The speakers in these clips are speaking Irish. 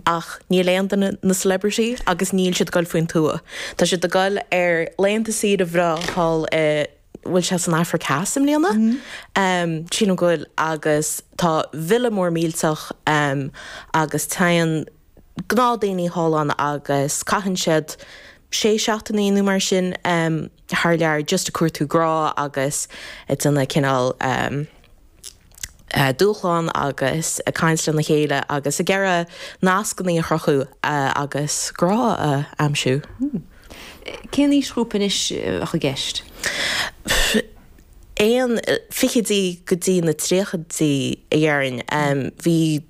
Ach níl aon duine ina celebrity agus níl siad ag goil faoin tuath. Tá siad ag goil ar laethanta saoire bhreá thall i, bhfuil sé san Afraic Theas i mbliana? Sílim go bhfuil agus tá villa mór millteach agus téann gnáthdhaoine thall ann agus caitheann siad sé seachtainí nó mar sin thar lear just ag cuartú grá agus ag déanamh cineál dúshlán agus ag caint lena chéile agus ag iarraidh nascanna a chruthú agus grá a aimsiú. Cén aoisghrúpa anois a bheadh i gceist? Aon fichidí go dtí na tríochaidí a dhéarfainn. Bhí.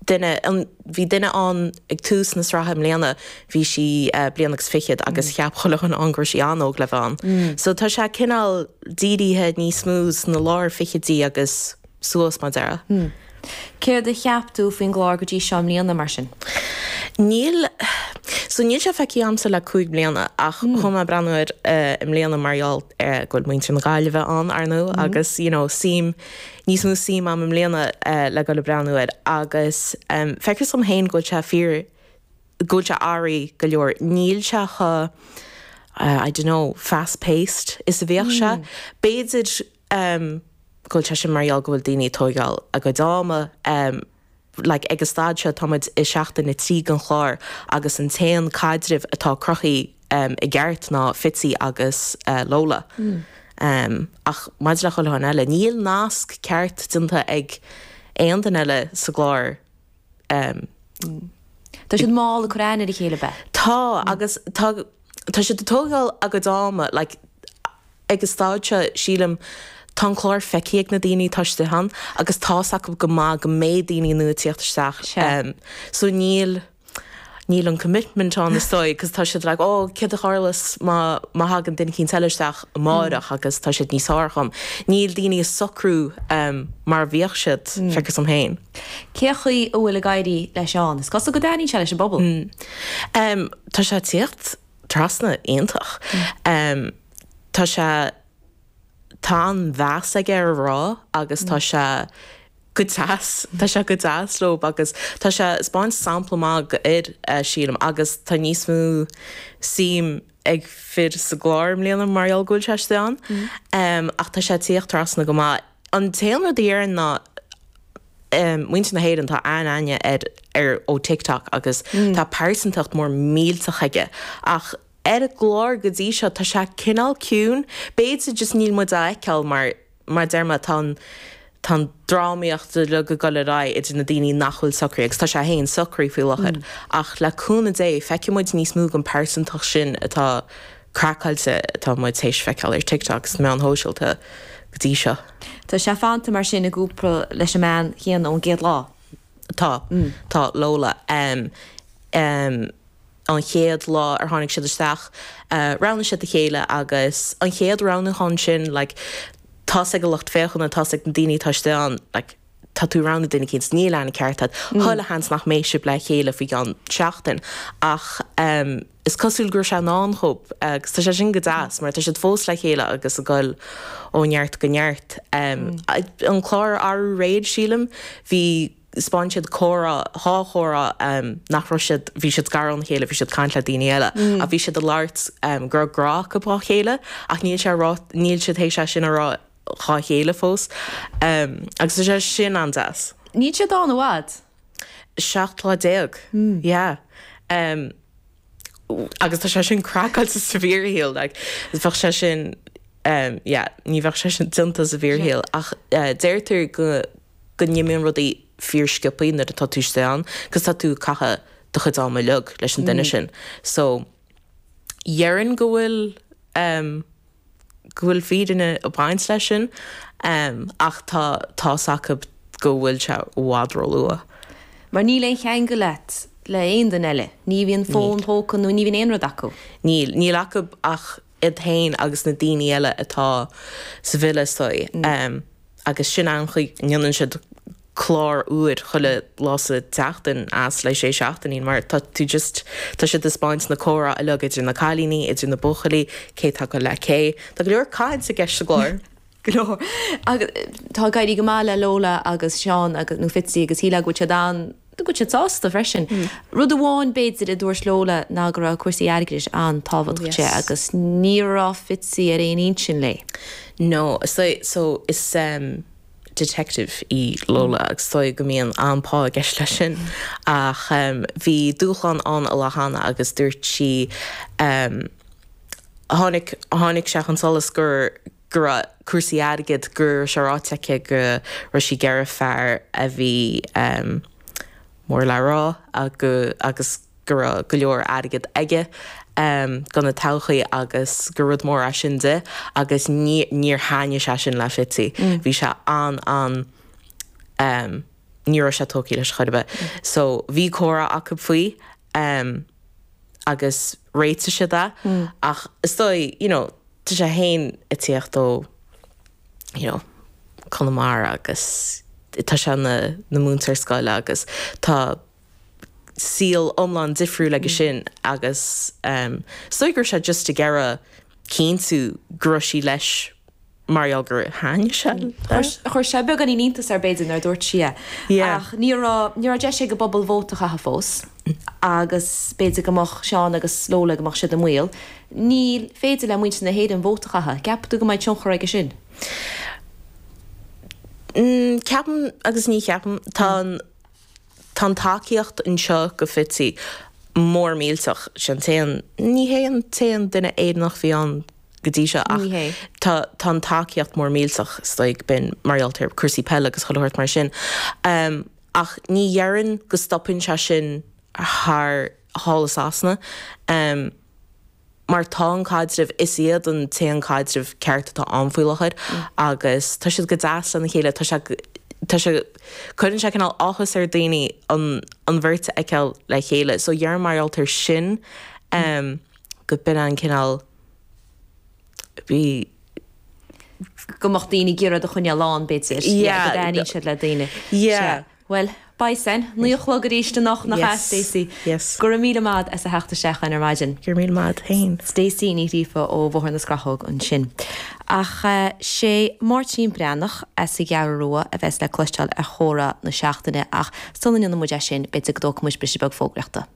duine, bhí duine ann ag tús na sraithe i mbliana, bhí sí bliain agus fichead agus cheap chuile dhuine ann go raibh sí an-óg le bheith ann. So tá sé cineál dírithe níos mó sna lár fichidí agus suas mar déarfá. Céard a cheap tú faoin gclár go dtí seo i mbliana mar sin? Níl, so níl sé feicthe a'msa le 5 bliana ach chuaigh mé ag breathnú air i mbliana mar gheall go bhfuil muintir na Gaillimhe ann, ar ndóigh, agus you know suim, níos mó suim a'm i mbliana le dul ag breathnú air agus feictear dom féin go bhfuil sé fíor, go bhfuil sé athraithe go leor. Níl sé chomh, I don't know, fast paced is a bhíodh sé. B'fhéidir go bhfuil sé sin mar gheall go bhfuil daoine ag tóigeáil a gcuid ama, like ag an staid seo tá muid i seachtain 3 den chlár agus an t-aon caidreamh atá cruthaithe i gceart ná Fitzy agus Lola. Ach maidir le chuile dhuine eile, níl nasc ceart déanta ag aon duine eile sa gclár. Tá siad mall ag cur aithne ar a chéile, ab ea? Tá, agus tá tá siad ag tógáil a gcuid ama, like ag an staid seo sílim tá an clár feicthe ag na daoine atá istigh ann agus tá's acu go maith go mbeidh daoine nua ag tíocht isteach so níl níl an commitment ann is dóigh cos tá siad like oh céard a tharlós má má thagann duine eicínt eile isteach amáireach agus tá siad níos fearr dhom. Níl daoine ag socrú mar a bhíodh siad, feictear dom féin. Cé chaoi a bhfuil ag éirí le Seán? Is cosúil go dtaitníonn sé leis an bpobal. Tá sé ag tíocht trasna iontach. Tá sé, tá an-mheas aige ar a mhná agus tá sé go deas, tá sé go deas leo agus tá sé ag 'spáint sampla maith do fhir, sílim, agus tá níos mó suim ag fir sa gclár i mbliana mar gheall go bhfuil sé istigh ann. Ach tá sé ag tíocht trasna go maith. An t-aon rud a dhéarfainn ná muintir na hÉireann, tá an-aithne air ar ó TikTok agus tá pearsantacht mór millteach aige ach ar an gclár go dtí seo tá sé cineál ciúin. B'fhéidir just níl muid á fheiceáil mar mar a deir mé tá an tá an drámaíocht uilig ag dul ar aghaidh idir na daoine nach bhfuil socraithe agus tá sé féin socraithe faoi láthair ach le cúnamh Dé feicfidh muid níos mó den pearsantacht sin atá craiceáilte atá muid théis feiceáil ar TikTok agus na meáin shóisialta go dtí seo. Tá sé fanta mar sin i gcúpla leis an mbean chéanna ón gcéad lá. Tá. Tá Lola. An chéad lá ar tháinig siad isteach, roghnaigh siad a chéile agus an chéad roghnúchán sin, like, tá's ag an lucht féachana, tá's ag na daoine atá istigh ann, like, tá tú ag roghnú duine eicínt, níl aithne ceart agat, chuile sheans nach mbeidh sibh le chéile faoi gceann seachtain. Ach is cosúil go raibh sé i ndán dhóibh agus tá sé sin go deas mar tá siad fós le chéile agus ag goil ó neart go neart. An clár arú aréir, sílim, bhí, 'spáin siad comhrá, dhá chomhrá nach raibh siad, bhí siad gar óna chéile, bhí siad ag caint le daoine eile ach bhí siad ag labhairt go raibh grá acu dhá chéile ach níl sé rá, níl siad théis é sin a rá dhá chéile fós agus tá sé sin an-deas. Níl siad ann i bhfad. 17 lá. Yeah. Agus tá sé sin craiceáilte sa bhfíorshaol like bheadh sé sin yeah ní bheadh sé sin déanta sa bhfíorshaol ach deirtear go go n-imíonn rudaí fíorsciobthaí nuair atá tú istigh ann cos tá tú ag caitheamh do chuid ama uilig leis an duine sin so dhéarfainn go bhfuil go bhfuil fírinne ag baint leis sin ach tá tá's acu go bhfuil sé i bhfad róluath. Mar níl aon cheangal agat le aon duine eile. Ní bhíonn fón póca nó ní bhíonn aon rud acu. Níl. Níl acu ach iad féin agus na daoine eile atá sa villa is dóigh. Agus sin an chaoi a ndéanann siad clár úr chuile lá sa tseachtain as le sé seachtainí mar tá tú just, tá siad ag 'spáint na comhrá uilig idir na cailíní, idir na buachaillí, cé atá ag goil le cé. Tá go leor caint i gceist sa gclár. Go leor. Agus tá ag éirí go maith le Lola agus Seán agus, nó Fitzy agus shílfeá go bhfuil siad an. Go bhfuil siad sásta freisin. Rud amháin b'fhéidir a dúirt Lola ná go raibh cúrsaí airgid an-tábhachtach di agus ní raibh Fitzy ar aon intinn léi. No, so so is detective í Lola agus is dóigh go mbíonn an-pá i gceist leis sin ach bhí dúshlán ann an lá cheana agus dúirt sí tháinig tháinig sé chun solais gur go raibh cúrsaí airgid, go raibh sé ráite aici go raibh sí ag iarraidh fear a bhí mór le rá agus go raibh go leor airgid aige do na todhchaí agus gur rud mór é sin di agus níor thaitnigh sé sin le Fitzy. Bhí sé an an ní raibh sé tógtha leis chor ar bith. So bhí comhrá acu faoi agus réitigh siad é ach is dóigh you know Tá sé féin ag tíocht ó you know Conamara agus tá sé ina ina mhúinteoir scoile agus tá saol iomlán difriúil aige sin agus ehm is dóigh go raibh sé just ag iarraidh cinntiú go raibh sí leis mar gheall gur thaitnigh sé léi. Chuir sé beagáinín iontas air b'fhéidir nuair a dúirt sí é. Yeah. Ach ní raibh ní raibh deis ag an bpobal vóta a chaitheamh fós agus b'fhéidir go mbeadh Seán agus Lola go mbeadh siad i mbaol. Ní féidir le muintir na hÉireann vóta a chaitheamh. Ceapann tú go mbeidh tionchar aige sin? Ceapaim agus ní cheapaim. Tá an tá an tacaíocht anseo go Fitzy mór millteach. Sé an t-aon, ní hé an t-aon duine Éireannach a bhí ann go dtí seo ach tá tá an tacaíocht mór millteach is dóigh b'in mar gheall ar cúrsaí peile agus chuile shórt mar sin. Ach ní dhéarfainn go stopann sé sin thar thall i Sasana. Mar tá an caidreamh, is iad an t-aon caidreamh ceart atá ann faoi láthair agus tá siad go deas lena chéile, tá sé, tá sé, cuireann sé cineál áthas ar daoine an, an bheirt a fheiceáil le chéile. So dhéarfainn mar gheall ar sin go b'in an cineál, bhí. go mbeadh daoine ag iarraidh iad a choinneáil ann b'fhéidir, Yeah. go dtaitníonn siad le daoine. Yeah. Sea. Bhuel, beidh san. 9 a chlog arís anocht, nach ea, Yes. Stacey? Yes. Go raibh míle maith as a theacht isteach chugainn ar maidin. Go raibh míle maith agat féin. Stacey Ní Ghríofa ó Bhóthar na Scrathóg ansin. Ach sé Máirtín Breathnach as an gCeathrú Rua a bheas le cloisteáil ar Chomhrá na Seachtaine ach sula ndéanann muid é sin, b'fhéidir go dtógfaidh muid briseadh beag fógraíochta.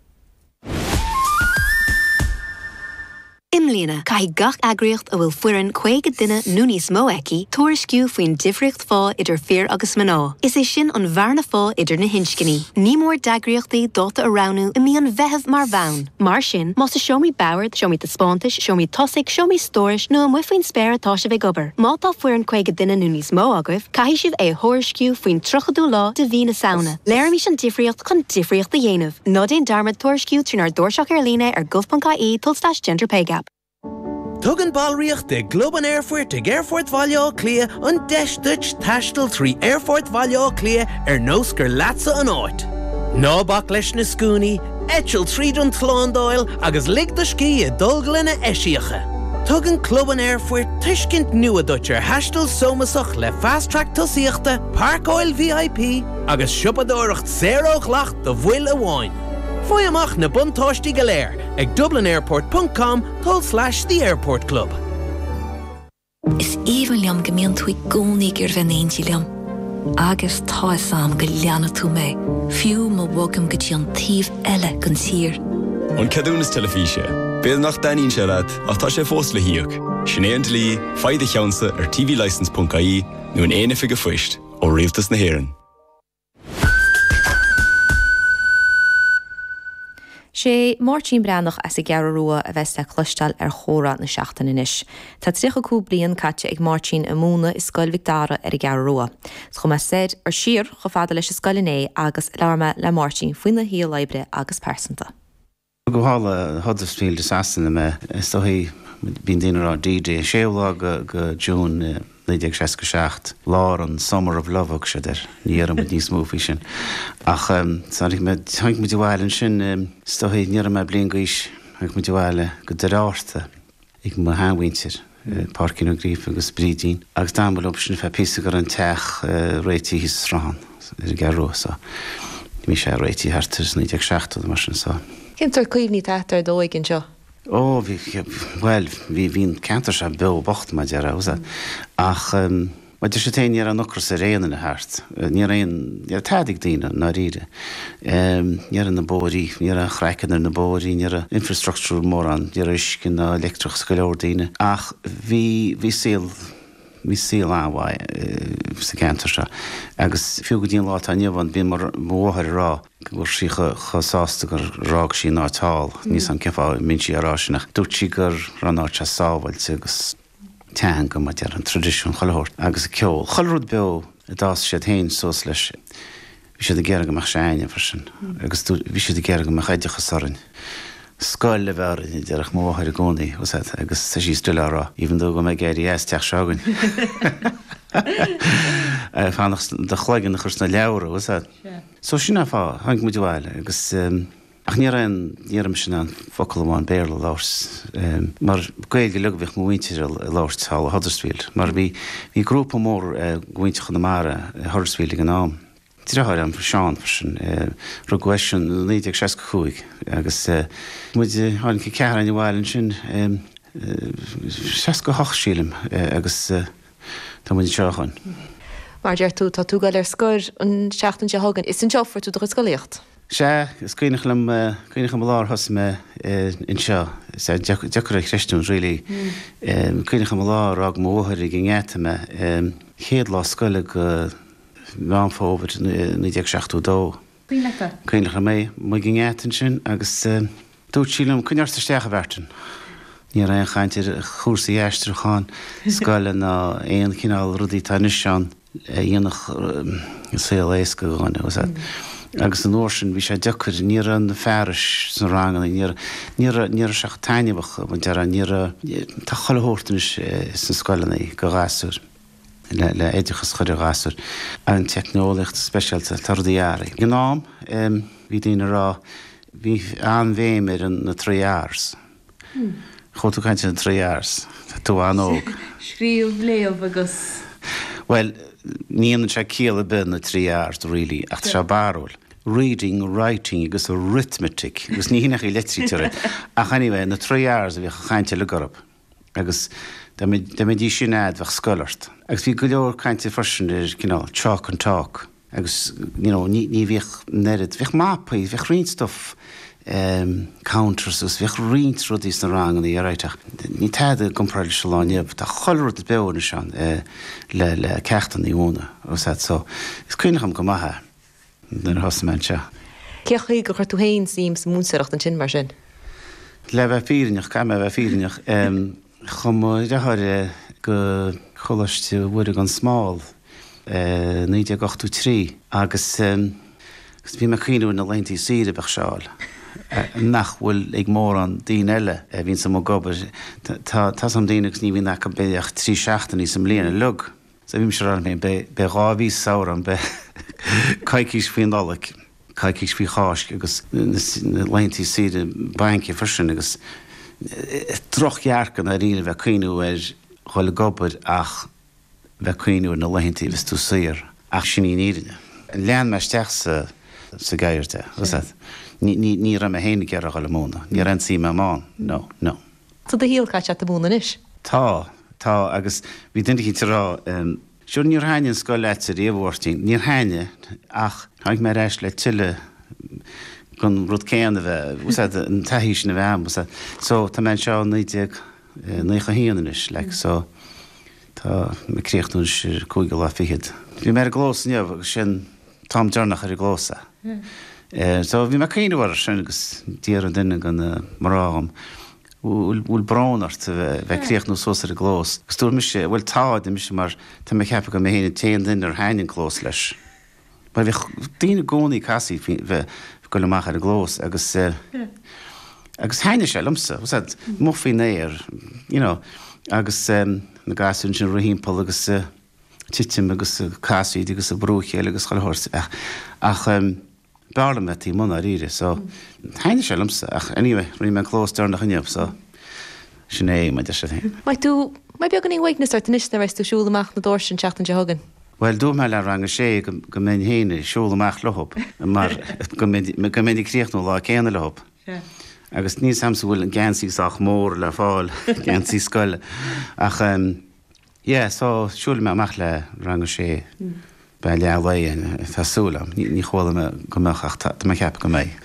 I mbliana, caithfidh gach eagraíocht a bhfuil foireann 50 duine nó níos mó aici tuairisciú faoin difríocht phá idir fir agus mná, is é sin an bhearna phá idir na hinscní. Ní mór d'eagraíochtaí dáta a roghnú i mí an Mheithimh mar bhonn. Mar sin, más i seomraí boird, seomraí taispeántais, seomraí tosaigh, seomraí stórais nó amuigh faoin spéir atá sibh ag obair, má tá foireann 50 duine nó níos mó agaibh, caithfidh sibh é a thuairisciú faoin 30ú lá de mhí na Samhna. Léirímis an difríocht chun difríocht a dhéanamh. Ná déan dearmad tuairisciú trínár dtairseach ar líne ar gov.ie tulslais genderpaygap. Tugann ballraíocht i gClub an Aerfoirt ag Aerfort Bhaile Átha Cliath an deis duit taisteal trí Aerfort Bhaile Átha Cliath ar nós gur leatsa an áit. Ná bac leis na scuainí, eitil tríd an tslándáil agus lig do scíth i dtolglanna eisiacha. Tugann Club an Aerfoirt tuiscint nua duit ar thaisteal sómasach le Fast Track tosaíochta, páirceáil VIP agus siopadóireacht saor ó dhleacht do bhaill amháin. Faigh amach na buntáistí go léir ag dublinairport ponc com tulslais the airport club. Is aoibhinn liom go mbíonn tú i gcónaí ag iarraidh bheith in éindí liom. Agus tá 'fhios a'm go leanfaidh tú mé, fiú má bhogaim go dtí an taobh eile den tír. An ceadúnas teilifíse. B'fhéidir nach dtaitníonn sé leat, ach tá sé fós le híoc. Sin é an dlí, faigh do cheannsa ar tvlicence.ie nó in aon oifig an phoist, ó Rialtas na hÉireann. Sé Máirtín Breathnach as an gCeathrú Rua a bheas le cloisteáil ar Chomhrá na Seachtaine anois. Tá 35 bliain caite ag Máirtín ag múineadh i Scoil Mhic Dara ar an gCeathrú Rua. Chuaigh mé soir, or siar, chomh fada leis an scoil inné agus labhair mé le Máirtín faoina shaol oibre agus pearsanta. Rugadh thall i Huddersfield i Sasana mé. Is dóichí, bíonn daoine ag rá D-Day, séú lá de June 1967, lár an Summer of Love a thug siad air. Ní dhéarfaidh muid níos mó faoi sin. Ach tháinig mé, tháinig muid abhaile ansin, is dóichí, ní raibh mé bliain d'aois, tháinig muid abhaile go Doire Fhatharta. ag mo sheanmhuintir, Páircín Ó Gríofa agus Brídín, agus d'fhan muid leo sin ar feadh píosa go raibh an teach réitithe thíos sa Sruthán ar an gCeathrú Rua so bhí sé réitithe thart ar 1970 nó mar sin so. Cén sórt cuimhní atá agat ar d'óige anseo? Ó bhí, bhuel, bhí, bhí an ceantar seo beo bocht mar a déarfá, ach. Mar deir siad féin, ní raibh an ocras ar aon duine thart. Ní raibh aon, ní raibh tada ag daoine, i ndáiríre. Ní raibh na bóithrí, ní raibh an craiceann ar na bóithrí, ní raibh infrastructure mórán, ní raibh uisce ná leictreachas ag go leor daoine. Ach bhí, bhí saol, bhí saol an-mhaith sa gceantar seo. Agus fiú go dtí an lá atá inniu ann, bíonn mo, mo mháthair ag rá go raibh sí chomh sásta gur fhág sí an áit thall. Níl 's a'm cén fáth a mbíonn sí á rá sin ach dúirt sí go raibh an áit seo sábháilte agus, teanga, mar a déarfá, an traidisiún, chuile shórt, agus an ceol. Chuile rud beo a d'fhás siad féin suas leis, bhí siad ag iarraidh go mbeadh sé a'inne freisin, agus bhí siad ag iarraidh go mbeadh oideachas orainn. Scoil a bheith orainn, a déarfadh mo mháthair i gcónaí, bhfuil 's a'd, agus tá sí still á rá, even though go mbeidh ag éirí as teach seo againn. Fanacht do chloigeann a chur sna leabhra, bhfuil 's a'd. So sin an fáth, tháinig muid abhaile agus. Ach ní raibh aon, ní raibh mise in ann focal amháin Béarla a labhairt, mar Gaeilge uilig a bhíodh mo mhuintir a labhairt thall i Huddersfield, mar bhí, bhí grúpa mór de mhuintir Chonamara i Huddersfield ag an am. Deartháir a'm, Seán, freisin, rugadh eisean i 1965 agus muid, tháinig an ceathrar againn abhaile ansin, 68 sílim, agus. Tá muid anseo ó shoin. Mar a deir tú, tá tú ag dul ar scor an tseachtain seo chugainn. Is anseo a fuair tú do chuid scolaíocht. Sea, is cuimhneach liom, cuimhneach liom an lá ar thosaigh mé anseo. Sea, deacair a chreistiúint really. Cuimhneach liom an lá ar fhág mo mháthair ag an ngeata mé. Chéad lá scoile de Mheán Fómhair 1972. Cuimhin leat é? Cuimhneach liom é. Amuigh ag an ngeata ansin agus dúirt sí liom, Coinnigh ort isteach, a Mheairtin. Ní raibh aon chaint ar chúrsaí aistriúcháin scoile ná aon chineál rudaí atá anois ann a dhéanfadh an saol éasca do dhuine, bhfuil 's a'd. Agus an uair sin bhí sé deacair, ní raibh na fearais sna ranganna, ní raibh, ní raibh, ní raibh sé chomh taitneamhach, mar a déarfá, ní raibh, tá chuile shórt anois sna scoileanna do ghasúir. le oideachas a chur ar ghasúir. An teicneolaíocht speisialta, tá rudaí athraithe. Ag an am, bhí daoine ag rá, bhí an-bhéim ar na trí R's. Chuala tú caint ar na trí R's? Tá tú an-óg. Scríobh, léamh agus. Bhuel, ní dhéanann sé ciall ar bith na trí R's really, ach tá sé barrúil. Reading, writing agus arithmetic. Agus ní hin ach í leitrítear é. Ach anyway, na trí R's a bhíodh an chaint uilig orthu. Agus dá mbeidís sin a'd bheadh scoil ort. Agus bhí go leor cainte freisin ar cineál chalk and talk agus you know ní ní bhíodh an oiread, bhíodh mapaí, bhíodh roinnt stuff em counters agus bhíodh roinnt rudaí sna ranganna alright ach ní tada i gcomparáid leis an lá inniu. Tá chuile rud beo anois ann eh le le ceachtanna a mhúineadh bhfuil 's a'd so is cuimhneach liom go maith é. nuair a thosaigh mé anseo. Cén chaoi gur chuir tú féin suim sa mhúinteoireacht ansin, mar sin? Le bheith fírinneach, caithfidh mé a bheith fírinneach, chuaigh mo dheartháir go Coláiste Mhuire gan Smál i 1983 agus bhí mé ag cuimhneamh ar na laethantaí saoire a bheadh sé a fháil, nach bhfuil ag mórán daoine eile a bhíonns amuigh ag obair. Tá 's a'm daoine agus ní bhíonn acu b'fhéidir ach 3 seachtainí sa mbliain uilig. So bhí mise ag rá liom féin, beidh, beidh 2 mhí sa samhradh a'm, beidh coicís faoi Nollaig, coicís faoi Cháisc agus na laethantaí saoire bainc freisin agus drochdhearcadh i ndáiríre bheith ag cuimhniú ar dhul ag obair ach bheith ag cuimhniú ar na laethantaí a bheas tú saor. Ach sin í an fhírinne. Lean mé isteach sa, sa gceird é, bhfuil 's a'd. Ní, ní, ní raibh mé féin ag iarraidh dhul ag múineadh. Ní raibh aon tsuim a'm ann. No, no. Tá do shaol caite agat ag múineadh anois. Tá, tá, agus bhí duine eicínt ag rá, sure níor thaitnigh an scoil leatsa riamh, a Mháirtín. Níor thaitnigh, ach tháinig mé ar ais le tuilleadh den rud céanna a bheith, bhfuil 's a'd, an taithí sin a bheith a'm, bhfuil 's a'd. So, tá mé anseo ó 1991 anois, like, so tá mé ag críochnú anois ar cúigiú lá fichead. Bhí mé ar an gclós inniu agus sin t-am deireanach ar an gclós é. So bhí mé ag cuimhneamh air sin agus d'iarr duine de na mná dhom, bhfuil brón ort a bheith ag críochnú suas ar an gclós? Agus dúirt mise, bhuel tá, a deir mise, mar tá mé ag ceapadh go mé féin an t-aon duine ar thaitnigh an clós leis. Mar bhíodh daoine i gcónaí ag casaoid faoi bheith ag goil amach ar an gclós agus agus thaitnigh sé liomsa, bhfuil 's a'd, amuigh faoin aer, you know, agus na gasúir ansin ag rith thimpeall agus titim agus casaoid agus ag brú a chéile agus chuile shórt ach ach b'fhearr liom bheith taobh amuigh ndáiríre so thaitnigh sé liomsa ach anyway rinne mé an clós deireanach inniu so sin é mar a deir siad féin. Mbeidh tú, mbeidh beagáinín uaigneas ort anois nuair a bheas tú ag siúl amach na doirse an tseachtain seo chugainn. Bhuel dúirt mé le rang a sé go go mbeinn féin ag siúl amach leothab mar go mbeinn go mbeinn ag críochnú an lá céanna leothab. Agus níl 's a'msa an bhfuil an geansaí sách mór le fáil, geansaí scoile ach. Yeah, so siúlfaidh mé amach le rang a sé beidh leath lae, tá súil agam. Ní chuala mé go mbeadh ach tá mé ag ceapadh go mbeidh.